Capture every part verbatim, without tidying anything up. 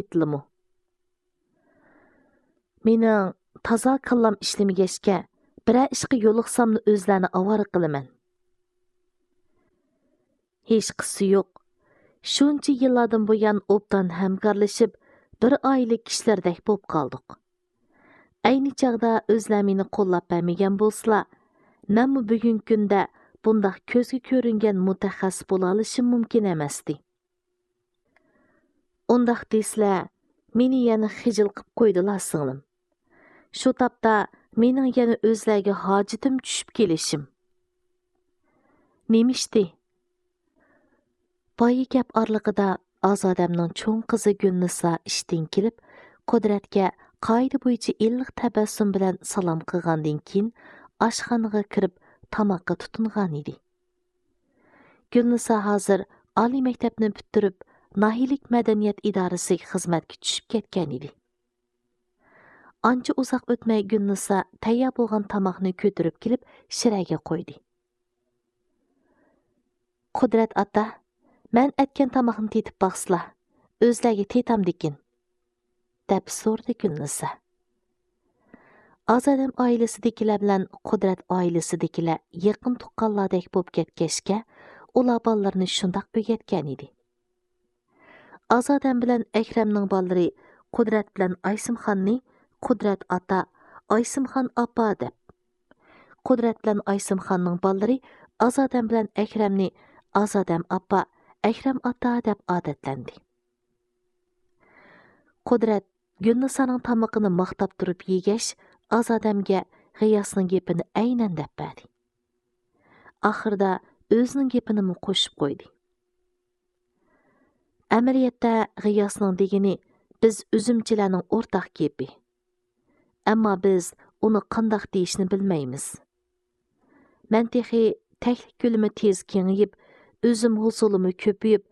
ئېيتىلىمۇ؟ مېنىڭ تازا كاللام ئىشلىمىگەچكە، بىرەر ئىشقا يولۇقساملا ئۆزلەرنى ئاۋارە قىلىمەن. ھېچقىسى يوق. شۇنچە يىللاردىن بۇيان ئوبدان ھەمكارلىشىپ، بىر ئائىلە كىشىلىرىدەك بولۇپ قالدۇق. ئەينى چاغدا ئۆزلەر مېنى قوللاپ بەرمىگەن بولسىلا، مەنمۇ بۈگۈنكى كۈندە بۇنداق كۆزگە كۆرۈنگەن مۇتەخەسسىس بولالىشىم مۇمكىن ئەمەستى. ئۇنداق دېسىلە، مېنى يەنە خىجىل قىپ قويدىلا، سىڭلىم. شۇ تاپتا مېنىڭ يەنە ئۆزلەرگە ھاجىتىم چۈشۈپ كېلىشىم. نېمە ئىشتى؟ بايا گەپ ئارىلىقىدا ئازادەمنىڭ چوڭ قىزى گۈلنىسا ئىشتىن كېلىپ، قۇدرەتكە قائىدە بويىچە ئىللىق تەبەسسۇم بىلەن سالام قىلغاندىن كېيىن، ئاشخانىغا كىرىپ تاماققا تۇتۇنغانىدى. گۈلنىسا ھازىر ئالىي مەكتەپنى پۈتتۈرۈپ، ناھىيىلىك مەدەنىيەت ئىدارىسىگە خىزمەتكە چۈشۈپ كەتكەنىدى. ئانچە ئۇزاق ئۆتمەي گۈلنىسا تەييار بولغان تاماقنى كۆتۈرۈپ كېلىپ شىرەگە قويدى. قۇدرەت ئاتا، مەن ئەتكەن تاماقنى تېتىپ باقسىلا، ئۆزلەرگە تېتامدىكىن، دەپ سورىدى گۈلنىسا. ئازادەم ئائىلىسىدىكىلەر بىلەن قۇدرەت ئائىلىسىدىكىلەر يېقىن تۇغقانلاردەك بولۇپ كەتكەچكە، ئۇلار بالىلىرىنى شۇنداق ئۆگەتكەنىدى. ئازادەم بىلەن ئەكرەمنىڭ بالىلىرى قۇدرەت بىلەن ئايسىمخاننى قۇدرەت ئاتا، ئايسىمخان ئاپا دەپ، قۇدرەت بىلەن ئايسىمخاننىڭ بالىلىرى ئازادەم بىلەن ئەكرەمنى ئازادەم ئاپا، ئەكرەم ئاتا دەپ ئادەتلەندى. قۇدرەت گۈلنىسانىڭ تامىقىنى ماختاپ تۇرۇپ يېگەچ، ئازادەمگە غىياسنىڭ گېپىنى ئەينەن دەپ بەردى. ئاخىرىدا ئۆزىنىڭ گېپىنىمۇ قوشۇپ قويدى. ئەمەلىيەتتە غىياسنىڭ دېگىنى بىز ئۈزۈمچىلەرنىڭ ئورتاق گېپى. ئەمما بىز ئۇنى قانداق دېيىشنى بىلمەيمىز. مەن تېخى تەكلىپ كۆلىمى تېز كېڭىيىپ، ئۈزۈم ھوسۇلىمۇ كۆپىيىپ،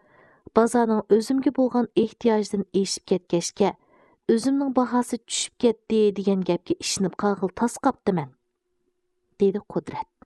بازارنىڭ ئۈزۈمگە بولغان ئېھتىياجىدىن ئېشىپ كەتكەچكە، ئۈزۈمنىڭ باھاسى چۈشۈپ كەتتى دېگەن گەپكە ئىشىنىپ قالغىلى تاس قاپتىمەن، دېدى قۇدرەت.